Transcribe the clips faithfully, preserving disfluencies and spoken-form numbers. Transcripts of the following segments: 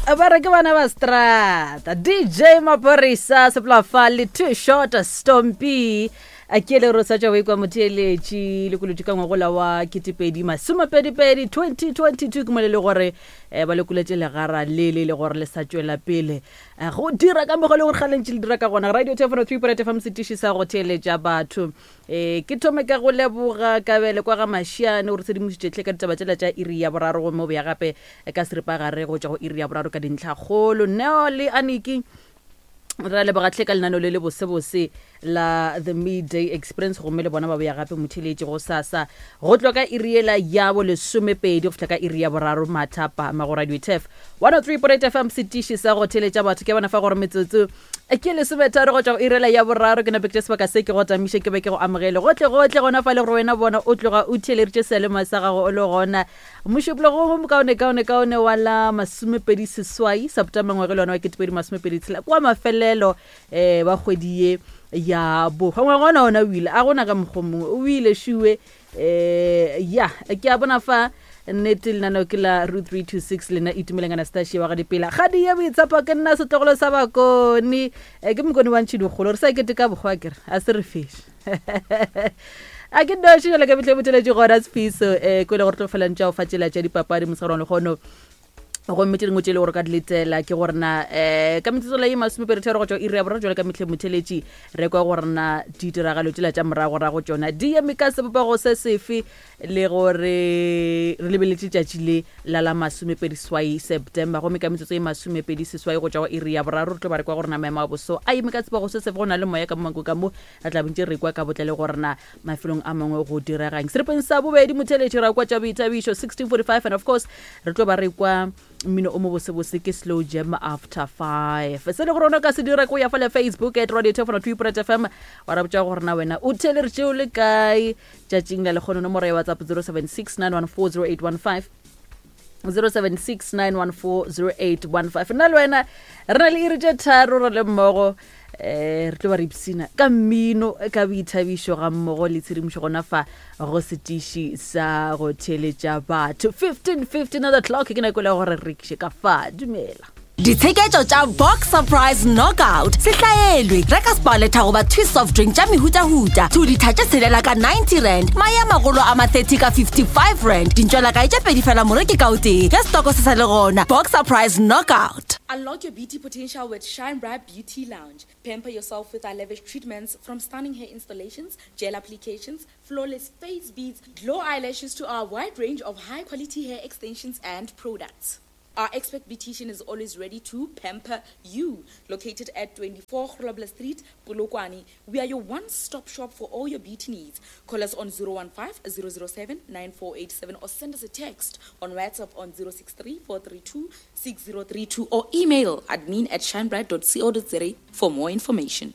Ba re ke bana ba strata. D J Maphorisa sepolafa le Too Short Stompy a ke le re sa tšwa go ikwa motheeletši le kolotši ka ngwagola wa ketepedi masomepedipedi twenty twenty-two ke mo le le gore um ba lekoletše legara le le le gore le sa tšwela pele eh, go dira ka mokgwa le gore galentši le dira ka gona. Radio Telefono three point F M, setiši sa go theeletša batho. um ke thome ka go leboga Kabele kwa ga Mašiane gore tshedimošitšetlhe ka ditaba tšela tša iri ya boraro, gomme o boya gape ka seripagare go tšwa go iri ya boraro ka dintlhakgolo. Neo le Aniki, re a lebogatlhe ka lenano le le bosebose la The Midday Experience, gomme le bona ba boya gape motheletši go sasa go tloga ka iri ela ya bo lesomepedi go fihla ka iri ya boraro mathapama go Radio Tef one oh three point eight F M, setiši sa go theletša batho. Ke bona fa gore metsotso ke lesometharo go tšwa go iri ela ya boraro. Ke nape ke tše sebaka se ke go tamiše, ke be ke go amogele gotlhe gotlhe gona fa le gore wena bona o tloga o theeleditše sealema sa gago o le gona mošupologo mo mokaone kaone kaone wa la masomepedi seswai September ngwage le ona wa ketepedi masomepedi tshela kwa mafelelo um wa kgwedi ye ya bohwa. Ngwaga ona ona o ile a gona ka mokgwa mongwe o ile šiwe. um ya ke a bona fa nnete lenaneo ke la Root three two six, lena Itumeleng Anastasia wa ga Dipela gadi ya boitshepo. Ke nna setlogolo sa Bakone, Eh, ke Mokone wa ntšhidikgolo re sa kete ka bokgwa kere a se re feš a ke noši jale ka metlhe boteletše gona Sefiso um ko e le gore tlo felantša go fa tsela tša dipapadi mosegare wa lekgono, gomme tše dingwe tše e le gore ka di letela ke gore na um ka metsotso la ye masomepedi tharo go tšwa iri ya boraro jale ka metlhe motheletši re kwa gore na ditiragalo tsela tša moragorago tšona di eme ka sebopego se sefe, le gore re lebeletše tšatši le la la masomepedi swai September. Gomme ka metsotso ye masomepedi seswai go tšwa go iri ya boraro re tlo ba re kwa gore na maemo a boso a eme ka sebopego se sefe, go na le moya ka mo ka mo re tla bontše re kwa ka botle le gore na mafelong a mangwe go diregang. Seripeng sa bobedi motheletši ra kwa tša boithabišo sixteen forty-five, and of course re tlo ba re kwa mmino o mo bosebose ke slow jam after five. Se le gore ona o ka se dira ke go ya fa le Facebook at Radio Telefono three point F M, wa ra botša gore na wena o theeleditše o le kae tšatšing la lekgono. Nomoro ya WhatsApp zero seven six nine one four zero eight one five, zero seven six nine one four zero eight one five. Nna le wena re na le iri tše tharo re le mmogo, um re tlo ba re ipsina ka mmino, ka boithabišo ga mmogo le tshedimošo gona fa go setiši sa go theeletša batho. fifteen fifteen on the clock, ke nako le gore re rekiše ka fa. Dumela. Ditsheketšo tša Box Surprise Knockout se hlaelwe. Reka Sparletta goba Twist soft drink tša mehutahuta two litha tše tshelela ka ninety rand, mae a magolo a ma thirty ka fifty-five rand, dintšwelakae tše pedi fela moreki ka o tee ge stoko se sa le gona. Box Surprise Knockout. Unlock your beauty potential with Shine Bright Beauty Lounge. Pamper yourself with our lavish treatments, from stunning hair installations, gel applications, flawless face beads, glow eyelashes to our wide range of high quality hair extensions and products. Our expert beautician is always ready to pamper you. Located at twenty-four Grobler Street, Polokwane, we are your one-stop shop for all your beauty needs. Call us on zero one five zero zero seven nine four eight seven or send us a text on WhatsApp on zero six three four three two six zero three two or email admin at shinebright dot co dot za for more information.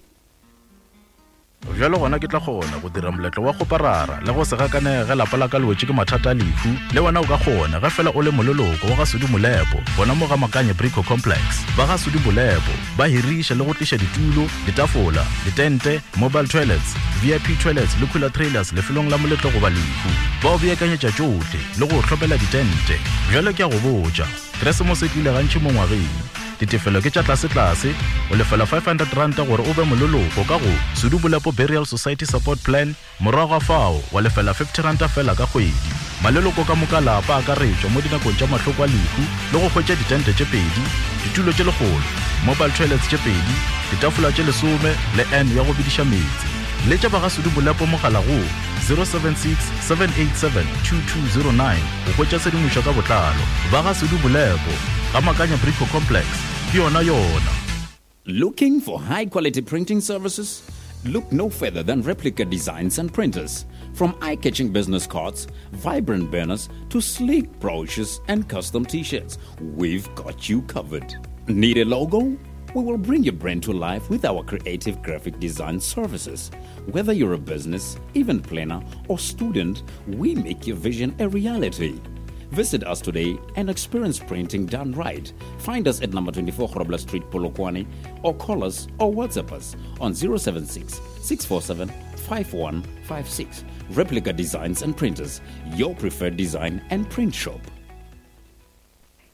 Bjalo gona ke tla kgona go dira moletlo wa kgoparara le go se gakanege ge lapa la ka le wetše ke mathata a lehu. Le wena o ka kgona ge fela o le moleloko wa ga Sudi Molepo gona mo ga Makanye Brico Complex. Ba ga Sudi Molepo ba hiriša le go tliša ditulo, ditafola, ditente, mobile toilets, V I P toilets le cooler trailers lefelong la moletlo goba lehu. Ba o beakanyetša tšohle le go hlopela ditente. Bjalo ke a go botša, Keresemose e tlile gantši mo ngwageng. Ditefelo ke tša tlasetlase, o lefela five hundred ranta gore o be moleloko ka go Sudu Bolepo Burial Society Support Plan, morago ga fao wa lefela fifty ranta fela ka kgwedi. Maleloko ka moka lapa akaretšwa mo dinakong tša mahloko a lehu le go hwetša ditente tše pedi, ditulo tše lekgolo, mobile toilets tše pedi, ditafola tše lesome le n ya go bediša meetse. Letša ba ga Sudu Bolepo mogala go zero seven six seven eight seven two two zero nine go hwetša tshedimošo ka botlalo. Ba ga Sudu Bolepo ga Makanya Brico Complex, ke yona yona. Looking for high quality printing services? Look no further than Replica Designs and Printers. From eye catching business cards, vibrant banners, to sleek brochures and custom t shirts, we've got you covered. Need a logo? We will bring your brand to life with our creative graphic design services. Whether you're a business, event planner, or student, we make your vision a reality. Visit us today and experience printing done right. Find us at number twenty-four Grobler Street, Polokwane, or call us or WhatsApp us on zero seven six six four seven five one five six. Replica Designs and Printers, your preferred design and print shop.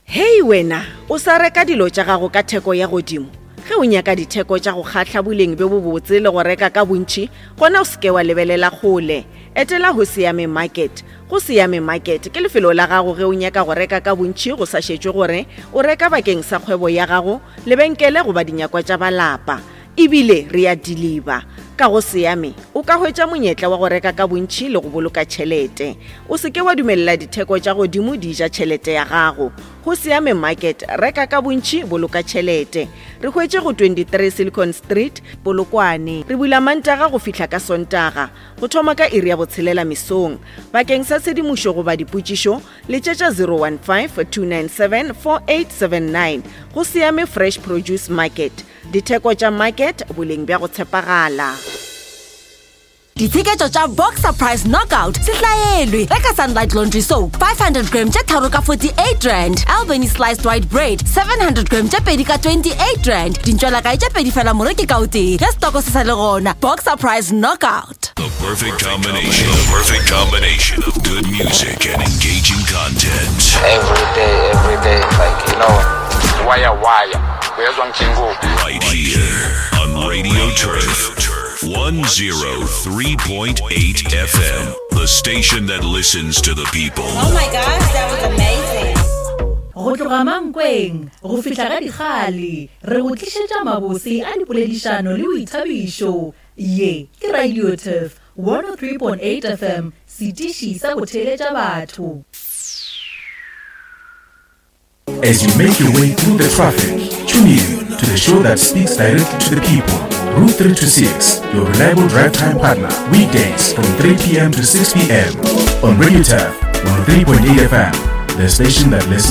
Hei wena, o sa reka dilo tša gago ka theko ya godimo. Ge o nyaka ditheko tša go kgahla boleng bjo bobotse le go reka ka bontši, gona o se ke wa lebelela kgole. Etela go Siame Market. Go Siame Market ke lefelo la gago ge o nyaka go reka ka bontši go sa šetšwe gore o reka bakeng sa kgwebo ya gago, lebenkele goba dinyakwa tša ba lapa. Ebile re a deliver. Ka go Siame o ka hwetša monyetla wa go reka ka bontši le go boloka tšhelete. O se ke wa dumelela ditheko tša godimo di ja tšhelete ya gago. Go Siame Market, reka ka bontši, boloka tšhelete. Re hwetše go twenty-three Silicon Street, Polokwane. Re bula Mantaga go fihla ka Sontaga, go thoma ka iri ya botshelela mesong. Bakeng sa tshedimošo goba dipotšišo, letšetša zero one five, two nine seven, four eight seven nine. Go Siame Fresh Produce Market. Ditheko tša market, boleng bja go tshepagala. Ditsheketšo tša Boxer Price Knockout se hlaelwe. Reka Sunlight Laundry Soap five hundred gram tše tharo ka forty-eight rand, Albany Sliced White Bread seven hundred gram tše pedi ka twenty-eight rand, dintšwelakae tše pedi fela moreki ka o tee ge stoko se sa le gona. Boxer Price Knockout. The perfect combination. The perfect combination of good music and engaging content. Every day, every day, like, you know, wire, wire. Right here on Radio Turf one oh three point eight F M, the station that listens to the people. Oh my gosh, that was amazing. Go tloga Mankweng go fihla ga Dikgale, re go tlišetša mabose a dipoledišano le boithabišo. Ye ke Radio Turf one oh three point eight F M, setiši sa go theeletša batho. As you make your way through the traffic, tune in to the show that speaks directly to the people. Route three to six, your reliable drive time partner, weekdays from three p m to six p m on Radio Turf one oh three point eight F M, the station that listens